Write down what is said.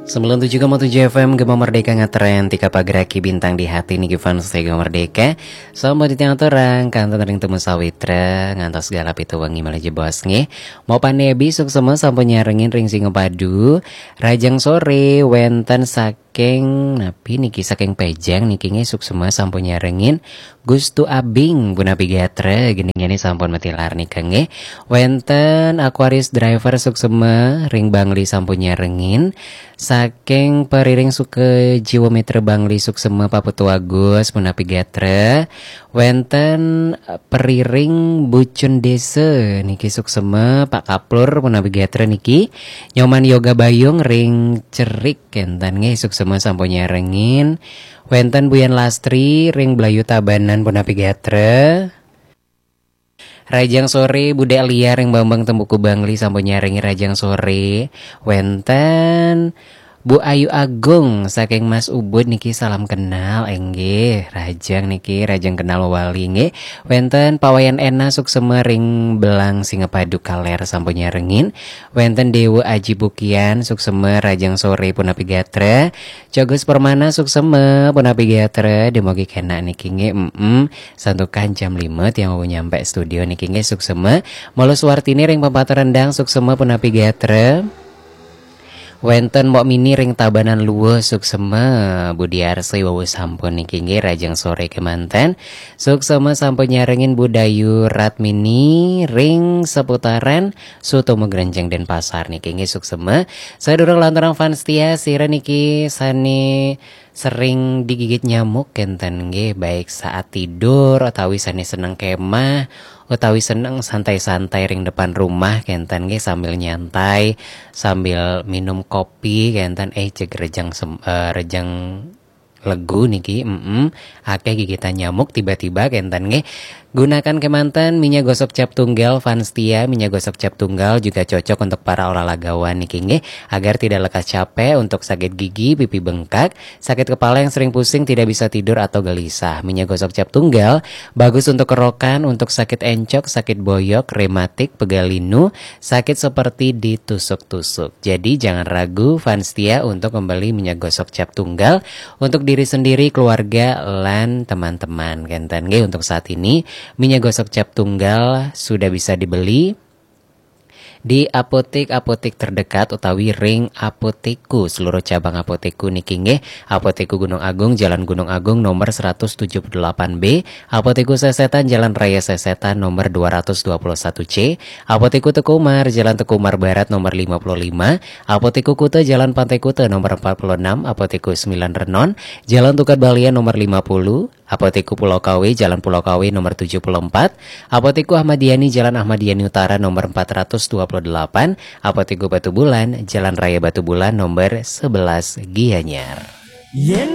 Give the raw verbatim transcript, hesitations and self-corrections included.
Sembilan tujuh koma tujuh F M Gema Merdeka ngetren, tika pageraki bintang di hati niki fans Gema Merdeka. Sampun titiang aturang kantun ring Temu Sawitra ngantos galah pitu wengi malih jebos nggih. Mau panebi suksema sampun nyarengin ring Singapadu. Rajang sore wenten saking napi niki, saking Pejang niki nggih, suksema sampun nyarengin. Gustu Abing punapi gatra, gendingane sampun matilar nika nggih. Wenten Aquarius Driver suksema ring Bangli sampun nyarengin. Saking Periring Suka Jiwa Mitra Bangli suksema Pak Putu Agus punapi gatra. Wenten, eh, Periring Bucun Desa niki suksema Pak Kaplur punapi gatra niki. Nyoman Yoga Bayung ring Cerik kenten nggih, suksema sampun nyarengin. Wenten Buyan Lastri ring Blayu Tabanan punapi gatra. Rajang sore Budek Liar ring Bambang Tembuku Bangli sampun nyarengin rajang sore. Wenten Bu Ayu Agung saking Mas Ubud niki, salam kenal, enggih. Rajang niki, rajang kenal wali nggih. Wenten Pak Wayan Ena suksema ring Belang Singapadu Kaler sampun nyarengin. Wenten Dewa Aji Bukian suksema rajang sore punapi gatra. Cogus Permana suksema punapi gatra, demogi kenak niki nggih. Mm-mm. Santukan jam lima tiang wau nyampe studio niki nggih, suksema. Mula Suwartini ring Pempatan Rendang suksema punapi gatra. Wenten Mok Mini ring Tabanan Luwuh suksema. Budi Arsi wau sampun niki nggih, rajang sore kemanten. Suksema sampun nyarengin Bu Dayu Ratmini ring seputaran Sutomo Grenjeng Denpasar niki nggih, suksema. Sadurung lanturang fans setia, sira niki sane sering digigit nyamuk kenten nggih, baik saat tidur utawi sane seneng kemah utawi seneng santai-santai ring depan rumah kenten nggih, sambil nyantai, sambil minum kopi kenten, eh, jeg rejang sem-, eh, rejang legu niki, mm akeh gigitan nyamuk tiba-tiba kenten nggih. Gunakan kemanten minyak gosok cap tunggal fans setia. Minyak gosok cap tunggal juga cocok untuk para olahragawan niki nggih, agar tidak lekas capek, untuk sakit gigi, pipi bengkak, sakit kepala yang sering pusing, tidak bisa tidur atau gelisah. Minyak gosok cap tunggal bagus untuk kerokan, untuk sakit encok, sakit boyok, rematik, pegal linu, sakit seperti ditusuk-tusuk. Jadi jangan ragu fans setia untuk membeli minyak gosok cap tunggal untuk diri sendiri, keluarga, lan teman-teman. Kenten nggih, untuk saat ini minyak gosok cap tunggal sudah bisa dibeli di apotek-apotek terdekat utawi ring Apotekku, seluruh cabang Apotekku niki nggih. Apotekku Gunung Agung, Jalan Gunung Agung nomor seratus tujuh puluh delapan B, Apotekku Sesetan, Jalan Raya Sesetan nomor dua ratus dua puluh satu C, Apotekku Teku Umar, Jalan Teku Umar Barat nomor lima puluh lima, Apotekku Kuta, Jalan Pantai Kuta nomor empat puluh enam, Apotekku Sembilan Renon, Jalan Tukad Balian nomor lima puluh, Apotekku Pulau Kawe, Jalan Pulau Kawe nomor tujuh puluh empat, Apotekku Ahmad Yani, Jalan Ahmad Yani Utara nomor empat ratus dua puluh delapan, Apotekku Batubulan, Jalan Raya Batubulan nomor sebelas Gianyar. Yen